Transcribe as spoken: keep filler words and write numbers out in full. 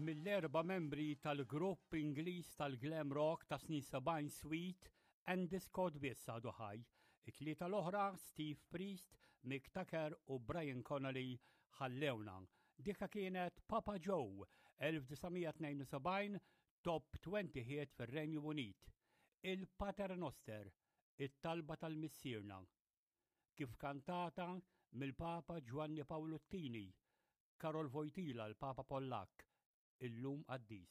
Mill-erba' membri tal-grupp Ingliż tal-glam rock ta' snin sebgħin Sweet, Andy Scott biss għadu ħaj. It-tlieta l-oħra, Steve Priest, Mick Tucker u Brian Connolly, ħallewna. Dika kienet Papa Joe, elf disa' mija tnejn u sebgħin, top twenty hit fir-Renju Unit. Il-Pater Noster, it-talba tal-Missierna. Kif kantata mill-Papa Ġwanni Pawlu t-Tieni, Karol Wojtyla, l-Papa Pollak, illum qaddis.